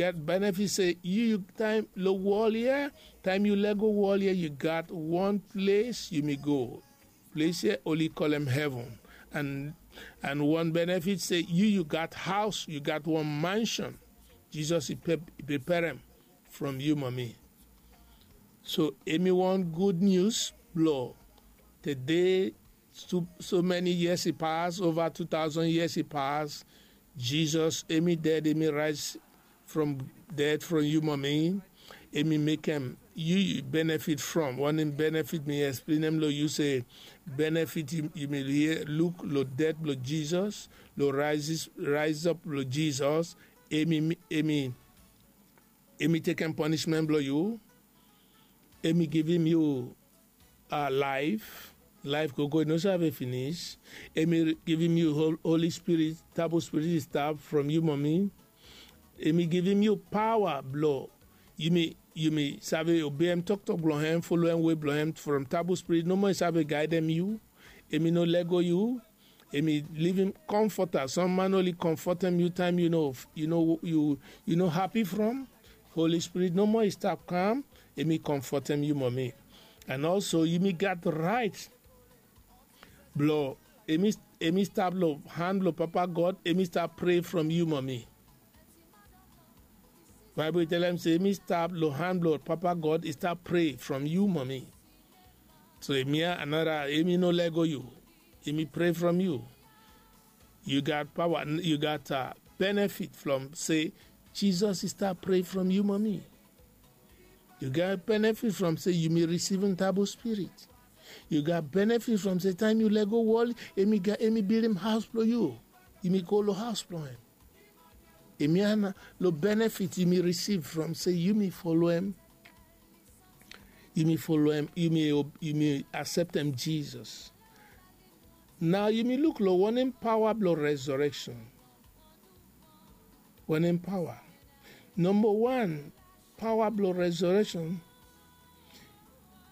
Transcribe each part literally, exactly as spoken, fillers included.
Get benefit se yu, yu taem lo wol ya, taem yu lego wol ya, yu gat wan ples yumi go. Ples ya oli kolem heven. And and wan benefit se yu, yu gat haos, yu gat wan mansion. Jizos i pe- i prepare hem from yu, mami. So emi wan gud nius blo tede. So, so many years i pas, ova two thousand years i pas. Jizos emi ded, emi raes from ded from yu, mami. Emi mekem yu, yu benefit from. Wanem benefit? Mi explain hem lo yu se benefit yu, yumi luk lo ded blo Jizos, lo raes, raes op blo Jizos. Emi, emi emi tekem ponismen blo yu. Emi givim yu laef, laef gogo i no save finis. Emi givim yu Holi Spirit, Tabu Spirit i stap from yu, mami. Emi givim yu paoa blo yumi, yumi save obeim toktok blo hem, foloem wei blo hem from Tabu Spirit nomo i save gaedem yu. Emi no lego yu. Emi livim komfota. Sam man oli komfotem yu taem yu no, yu no, yu, yu no hapi from. Holi Spirit nomo i stap kam. Emi komfotem yu, mami. And also yumi gat raet blo emi, emi stap lo han blo Papa God, emi stap pre from yu, mami. Baebol i telem se emi stap lo han blo Papa God, i stap pre from yu, mami. So emi ya anara, emi no lego yu. Emi pre from yu. Yu gat paoa, yu gat benefit from se Jizos i stap pre from yu, mami. Yu gat benefit from se yumi risivim Tabu Spirit. Yu gat benefit from se taem yu lego wol, emi gat, emi bildim haos blo yu. Yumi go lo haos blo hem. Emi ya na lo benefit yumi risiv from se yumi foloem, yumi foloem, yumi, yumi aseptem Jizos. Nao yumi luk lo wanem paoa blo resureksen. Wanem paoa? Nomba wan, paoa blo resureksen.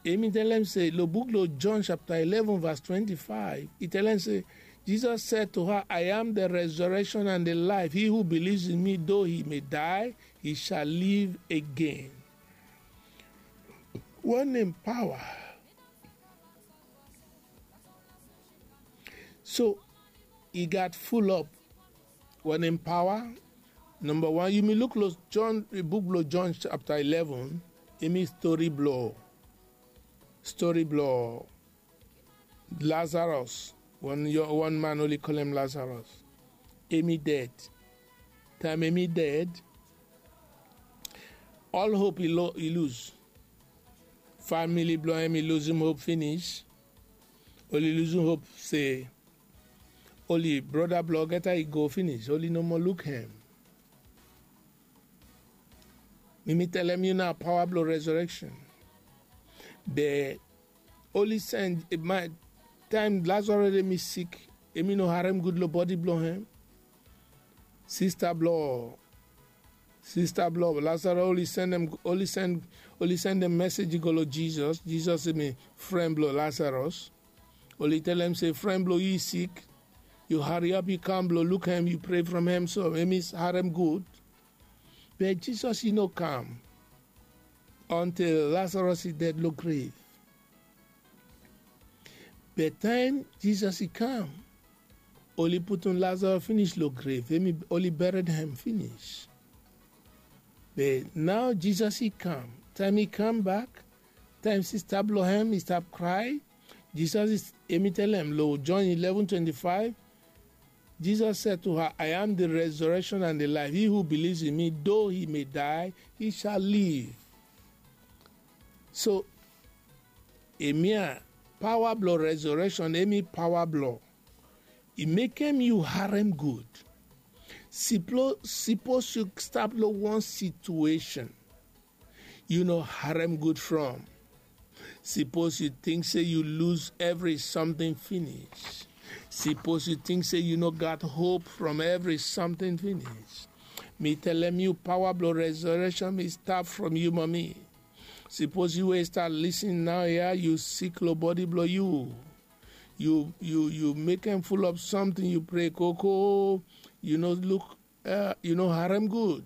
Emi telem se lo buk lo John chapter eleven verse twenty-five, i telem se, Jesus said to her, "I am the resurrection and the life. He who believes in me, though he may die, he shall live again." Wanem paoa? So i gat fulop wanem paoa? Nomba wan, yumi luk lo John, buk blo John chapter eleven, emi stori blo, stori blo Lazarus. Wan, wan man oli kolem Lazarus. Emi ded. Taem emi ded, ol hop i lo, i lus. Famili blo hem i lusim hop finis. Oli lusim hop se oli broda blo olgeta i go finis, oli no moa luk hem. Mi mi telem yu nao paoa blo resureksen. Be oli sen, taem Lazarus emi sik, emi no harem gud lo bodi blo hem. Sista blo, sista blo Lazarus oli sendem, oli sen, oli sendem mesej i go lo Jizos. Jizos emi fren blo Lazarus. Oli telem se, "Fren blo yu i sik. Yu hariap yu kam blo luk hem, yu pre from hem so emi harem gud." Be Jizos i no kam ontil Lazarus i ded lo grev. Be taem Jizos i kam, oli putum Lazarus finis lo grev, emi, oli bered hem finis. Be nao Jizos i kam. Taem i kambak, taem sista blo hem i stap krae, Jizos i, emi telem lo John eleven twenty-five, Jesus said to her, "I am the resurrection and the life. He who believes in me, though he may die, he shall live." So emi ya, paoa blo resureksen, emi paoa blo i mekem yu harem gud. Siplo, sipos yu stap lo wan situesen yu no harem gud from. Sipos yu ting se yu lus evri samting finis. Sipos yu ting se yu no gat hop from evri samting finis. Mi telem yu, paoa blo resureksen i stap from yu, mami. Sipos yu we i stap lisin naoia, yu sik lo bodi blo yu. Yu, yu, yu mekem fulop samting, yu pre koko, yu no luk, yu no harem gud.